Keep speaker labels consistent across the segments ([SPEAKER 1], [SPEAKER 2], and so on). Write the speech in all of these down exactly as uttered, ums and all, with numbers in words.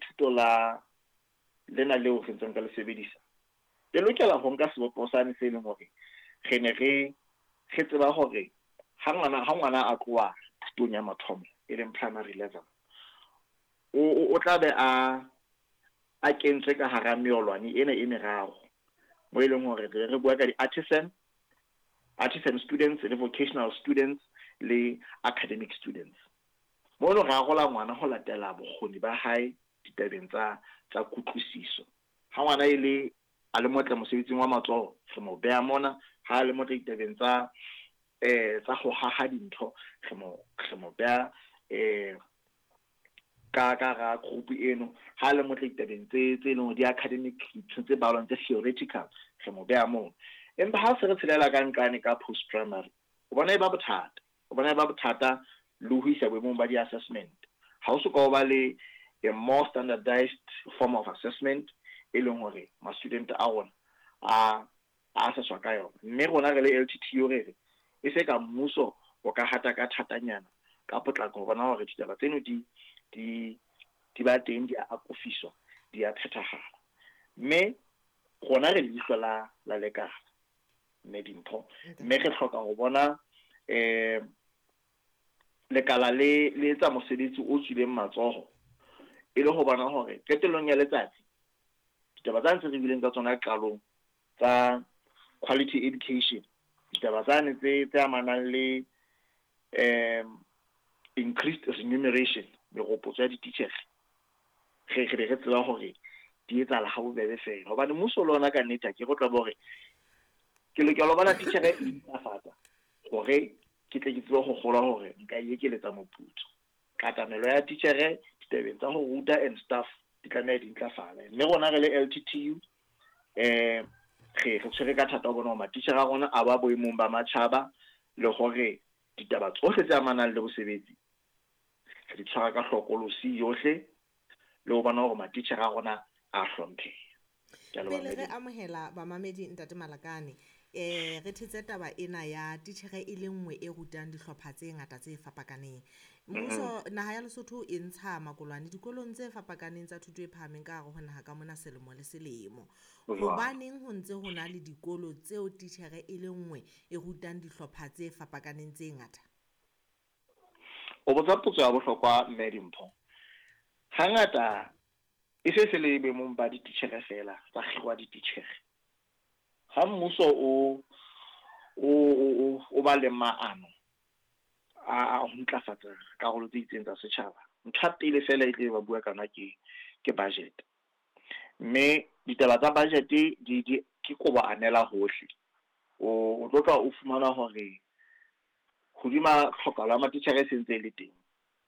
[SPEAKER 1] thuto la lena leo re ntseng ka le sebedisa le lokela ho nka sebopeho sane se leng hore re ne re re tseba hore ha ngwana ha ngwana a tloha thutong ya mathomo, e leng primary level, o o tla be a a kentswe ka hara meolwane ena e meraro, mo e leng hore re re bua ka di-artisan artisan students le vocational students le academic students. Mono re arola ngwana ho latela bokgoni ba hae ditabeng tsa tsa kutlwisiso. Ha ngwana e le a le motle mosebetsing wa matsoho, re mo beha mona. Ha a le motle ditabeng tsa eh tsa ho haha dintho, re mo re mo beha eh ka ka ra group eno. Ha le motle ditabeng tse tse leng hore di academic, dintho tse balwang tse theoretical, re mo beha moo. Empa ha se re tshelela ka nqane ka post primary, o bona e ba bothata, o bona e ba bothata le ho isa boemong ba di-assessment. Ha o soka o ba le a more standardized form of assessment e leng hore ma-student a rona a a assesswa ka yona. Mme rona re le L T T U re re e se ka mmuso o ka hata ka thatanyana ka potlako ho bona hore ditaba tseno di di di ba teng, di a akofiswa, di a phethahala. Mme rona re leihlo la la lekala, mme Dimpho, mme re hloka ho bona eh lekala le le etsa mosebetsi o tswileng matsoho, e le ho bona hore qetellong ya letsatsi ditaba tsa ntse re bileng ka tsona qalong tsa quality education, ditaba tsane tse tse amanang le um increased remuneration, meropotso ya dititjhere, re re be re tseba hore di etsahala ha bobebe fela, hobane mmuso le ona ka nnete ha ke re tla hore ke lokela ho bona titjhere e intlafatsa hore ke tle ke tsebe ho kgolwa hore nka e ekeletsa moputso. Katamelo ya titjhere ditabeng tsa ho ruta and staff di tlameha di ntlafale. Mme rona re le L T T U eh re re tshwere ka thata ho bona hore matitjhere a rona a ba boemong ba matjhaba, le hore ditaba tsohle tse amanang le bosebetsi re di tshwara ka hlokolosi yohle, le ho bona hore matitjhere a rona a hlompheha. Ke a leboha.
[SPEAKER 2] Pele re
[SPEAKER 1] Mme.
[SPEAKER 2] amohela bamamedi, ntate Malakane, eh re thetse taba ena ya titjhere e le nngwe e rutang dihlopha tse ngata tse fapakaneng. Mmuso naha ya Lesotho e ntsha makolwane dikolong tse fapakaneng tsa thuto e phahameng ka hare ho naha ka mona selemo le selemo.
[SPEAKER 1] Ho jwalo.
[SPEAKER 2] Hobaneng ho ntse ho na le dikolo tseo titjhere e le nngwe e rutang dihlopha tse fapakaneng tse ngata?
[SPEAKER 1] O botsa potso ya bohlokwa, mme Dimpho. Hangata e se se le boemong ba dititjhere fela tsa kgirwa dititjhere. Ha mmuso o o o o ba le maano a a ho ntlafatsa karolo tse itseng tsa setjhaba, ntho ya pele fela e tle ba bua ka yona ke ke budget. Mme ditaba tsa budget di di ke kobo anela hohle. O o tlo tla o fumana hore hodima tlhokahalo ya matitjhere e sentse e le teng,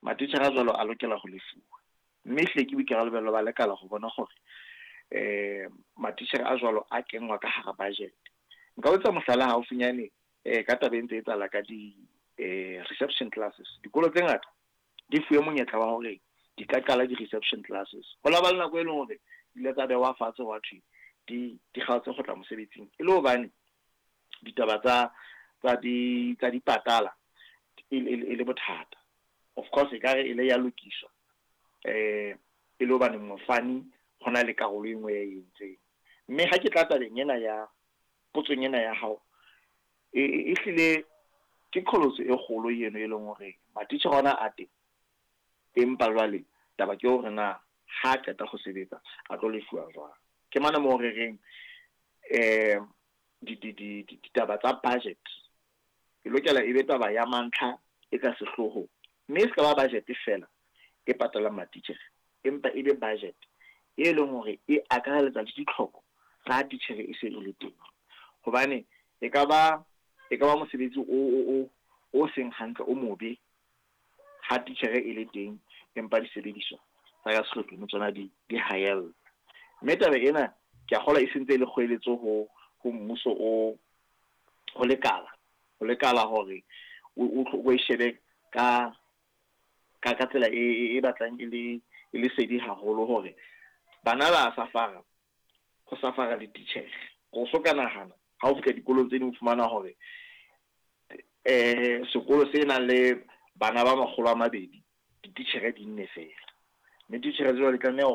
[SPEAKER 1] matitjhere a jwalo a lokela ho lefuwa. Mme ehlile ke boikarabelo ba lekala ho bona hore eh matitjhere a jwalo a kenngwa ka hara budget. Nka o etsa mohlala haufinyane eh ka taba e ntse e etsahala ka di eh reception classes. Dikolo tse ngata di fuwe monyetla wa hore di ka qala di-reception classes. Ho la ba le nako e leng hore di ile tsa behwa fatshe, hwa thwe di di kgaotse ho tla mosebetsing, e le hobane ditaba tsa tsa di tsa dipatala e le e le bothata. Of course ekare e le ya lokiswa eh e le hobane mofani hona le karolo e nngwe ya e entseng. Mme ha ke tla tabeng ena ya potsong ena ya hao, e e ehlile ke qholotso e kgolo eno e leng hore matitjhere ona a teng, empa jwale taba ke hore na ha qeta ho sebetsa a tlo lefuwa jwang. Ke mona moo re reng eh di di di ditaba tsa budget e lokela e be taba ya mantlha e ka sehloohong, mme e se ka ba budget fela e patalang matitjhere, empa e be budget e leng hore e akareletsa le ditlhoko tsa titjhere e se e le teng, hobane e ka ba e ka ba mosebetsi o o o o seng hantle, o mobe ha titjhere e le teng empa disebediswa tsa ka sehlohlolong tsona di di haella. Mme taba ena ke a kgolwa e sentse e le kgoeletso ho ho mmuso, o ho lekala ho lekala hore o o e shebe ka ka ka tsela e e batlang e le e le sedi haholo, hore bana ba safara ho safara le titjhere. O so ka nahana ha o fihla dikolong tse ding, o fumana hore eh sekolo se nang le bana ba makgolo a mabedi, dititjhere di nne fela, mme titjhere jwale di tlameha.